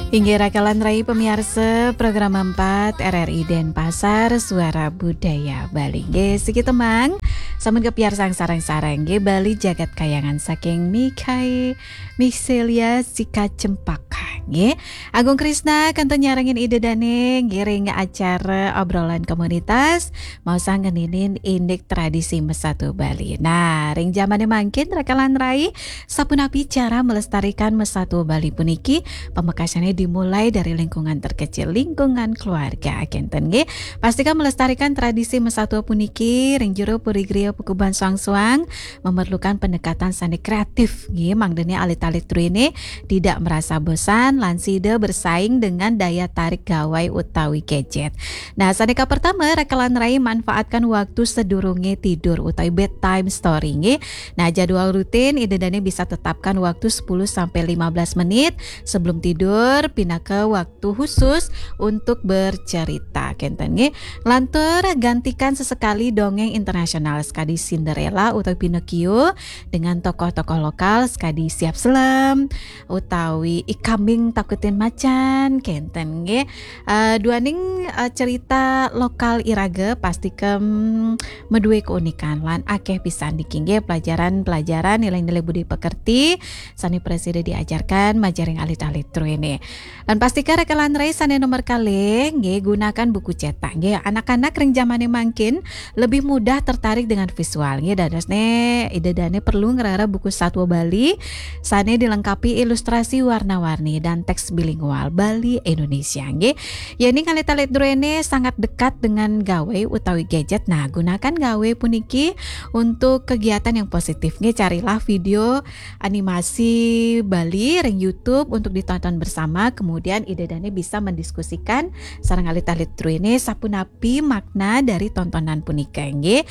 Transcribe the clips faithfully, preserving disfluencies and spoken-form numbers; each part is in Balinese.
Inggih raka lan rai pamiarsa program empat R R I Denpasar, Suara Budaya Bali. Nggih, siki tembang sampun kapiarsang sareng-sareng nggih, Bali Jagat Kayangan saking Mikai Miselia Sika Cempaka nggih. Agung Krisna kantun nyarengin ida dane nggih ring acara obrolan komunitas, maosang ngeninin indik tradisi mesatu Bali. Nah, ring jamane mangkin raka lan rai, sapunapi cara melestarikan mesatu Bali puniki? Pamekasane dimulai dari lingkungan terkecil, lingkungan keluarga, kenten nggih. Pastikan melestarikan tradisi mesatu puniki ring jero puri griya pakuban suang-suang memerlukan pendekatan sane kreatif nggih, mangdane alit-alit druene tidak merasa bosan lan sida bersaing dengan daya tarik gawai utawi gadget. Nah, sane kapertama, raka lan rai manfaatkan waktu sedurunge tidur utawi bedtime story nggih. Nah, jadwal rutin ida dane bisa tetapkan waktu sepuluh sampai lima belas menit sebelum tidur, pinaka waktu khusus untuk bercerita, kenten nggih. Lantur gantikan sesekali dongeng internasional sekadi Cinderella utawi Pinocchio dengan tokoh-tokoh lokal sekadi Siap Selem utawi I Kambing Takutin Macan, kenten nggih. Eh, duaning, eh, cerita lokal iraga pastika, mm, madue keunikan lan akeh pisan niki nggih pelajaran-pelajaran nilai-nilai budi pekerti sane prasida diajarkan majeng ring alit-alit druene. Lan pastika raka lan rai sane nomor kalih nggih, gunakan buku cetak nggih. Anak-anak ring jamane mangkin lebih mudah tertarik dengan visual nggih, dadosne ida dane perlu ngrara buku Satwa Bali sane dilengkapi ilustrasi warna-warni dan teks bilingual Bali Indonesia nggih. Yening alit-alit druene sangat dekat dengan gawe utawi gadget, nah, gunakan gawe puniki untuk kegiatan yang positif nggih. Carilah video animasi Bali ring YouTube untuk ditonton bersama, kemudian ida dane bisa mendiskusikan sareng alit-alit druene sapunapi makna dari tontonan punika nggih.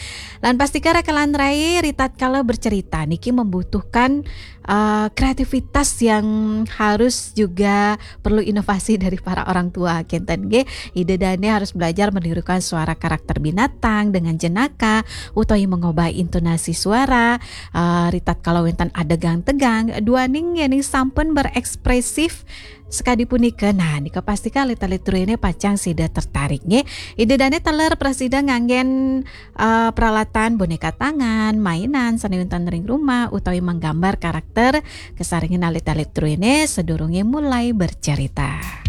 Lan pastika raka lan rai, ritatkala bercerita niki membutuhkan, eh, kreativitas yang harus juga perlu inovasi dari para orang tua, kenten nggih. Ida dane harus belajar menirukan suara karakter binatang dengan jenaka, utawi mengubah intonasi suara, eh, ritatkala wenten adegang tegang, duaning yening sampun berekspresif sekadi punika. Nah, nika pastika alit-alit druene pacang sida tertarik nggih. Ida dane taler prasida nganggen, eh, peralatan boneka tangan, mainan sane wenten ring rumah, utawi menggambar karakter kasarengin alit-alit druene sedurunge mulai bercerita.